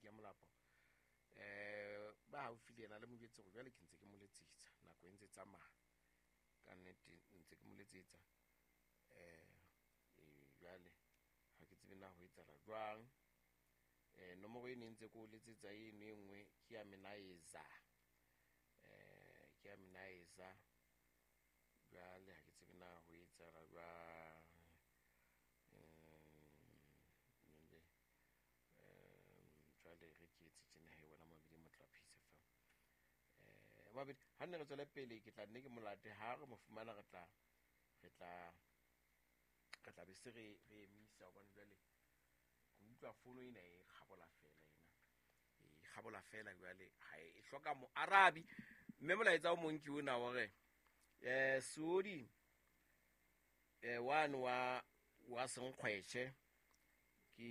ya Molapo. Ba haufi le yena le mo jwetse hore jwale ke ntse ke mo letsetsa, nako e ntse tsamaya. Ka nnete ntse ke mo letsetsa. Jwale ha ke tsebe na ho etsahala jwang. Nomoro e ne ntse ke o letsetsa eno e nngwe ke ya Menaeza. Ke ya Menaeza. Jwale ha ke tsebe na ho etsahala jwang. Jwale re ke etse tjena he wena Mabedi motho wa Peace FM. Mabedi ha nne re tswele pele, ke tla nne ke molate ha re mo fumana, re tla be se re emisa hobane jwale ke utlwa fono ena e kgabola fela ena. E kgabola fela jwale ha e hloka moarabi. Mme molaetsa o mong ke ona hore Seodi one wa Senkgwetjhe ke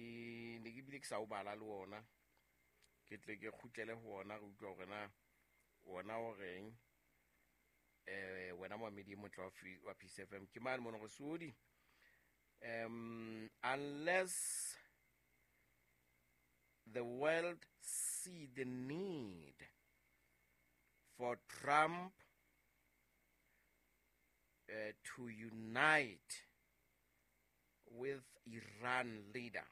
ne ke bile ke sa o bala le ona, ke tle ke kgutlele ho ona re utlwa hore na ona o reng. Wena Moamedi motle wa Peace FM ke mane mona hore Seodi, unless the world see the need for Trump to unite with Iran leader,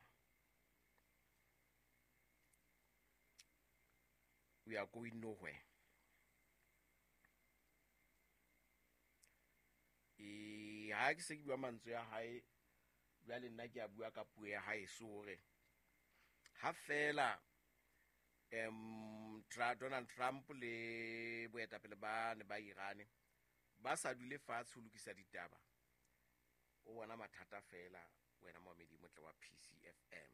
we are going nowhere. Ha ke se ke bua mantswe ya hae jwale, nna ke a bua ka puo ya hae so hore ha fela Donald Trump le boetapele ba ne ba Iran ba sa dule fatshe ho lokisa ditaba, o bona mathata fela wena Moamedi motle wa PCFM.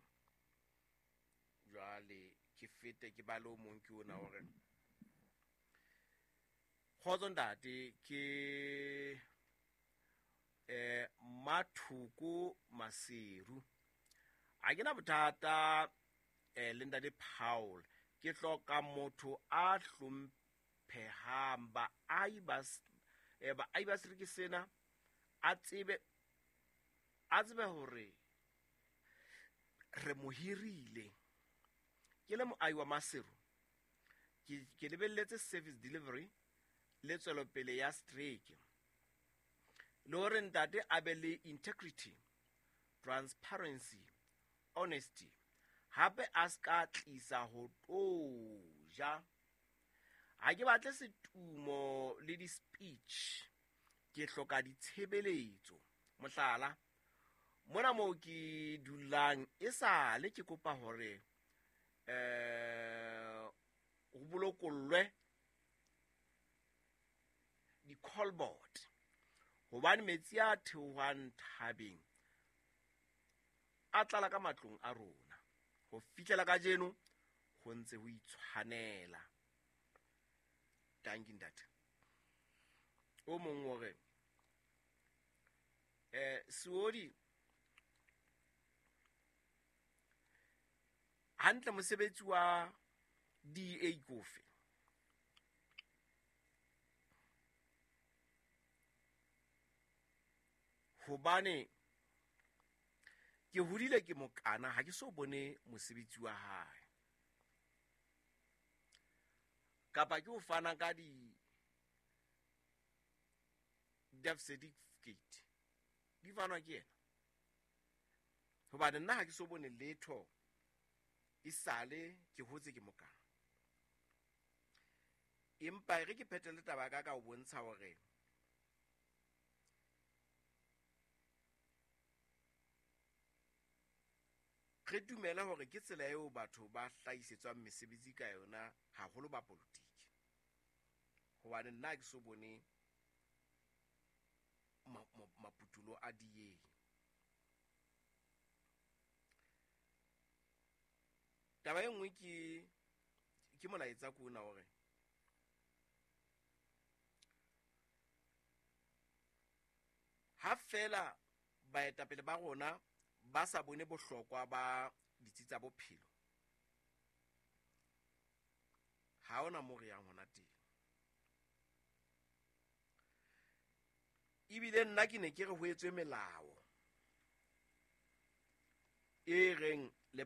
Jwale ke fete ke bale o mong ke ona hore kgotso ntate, ke Mathoko Maseru. Ha ke na bothata le ntate Paul, ke hloka motho a hlomphehang baahi ba sereke sena, a tsebe hore re mo hirile. Ke le moahi wa Maseru, ke lebelletse service delivery le tswelopele ya strike, le hore ntate a be le integrity, transparency, honesty, hape a ska tlisa ho toja. Ha ke batle setumo le di-speech, ke hloka ditshebeletso. Mohlala, mona moo ke dulang e sale ke kopa hore ho bolokollwe di-call board, hobane metsi a theohang thabeng a tlala ka matlong a rona. Ho fihlela kajeno ho ntse ho itshwanela. Dankie ntate. O mong hore Seodi hantle mosebetsi wa DA kofe? Hobane ke hodile ke mokana, ha ke so bone mosebetsi wa hae. Kapa ke o fana ka di death certificate, di fanwa ke yena. Hobane nna ha ke so bone letho esale ke hotse ke mokana. Empa e re ke phethele taba ka ho bontsha hore re dumela hore ke tsela eo batho ba hlahisetswang mesebetsi ka yona, haholo ba politiki. Hobane nna ke so bone maputulo a DA. Taba e nngwe ke molaetsa ko ona hore ha fela baetapele ba rona ba sa bone bohlokwa ba ditsi tsa bophelo, ha ona mo re yang hona teng. Ebile nna ke ne ke re ho etswe melao e reng le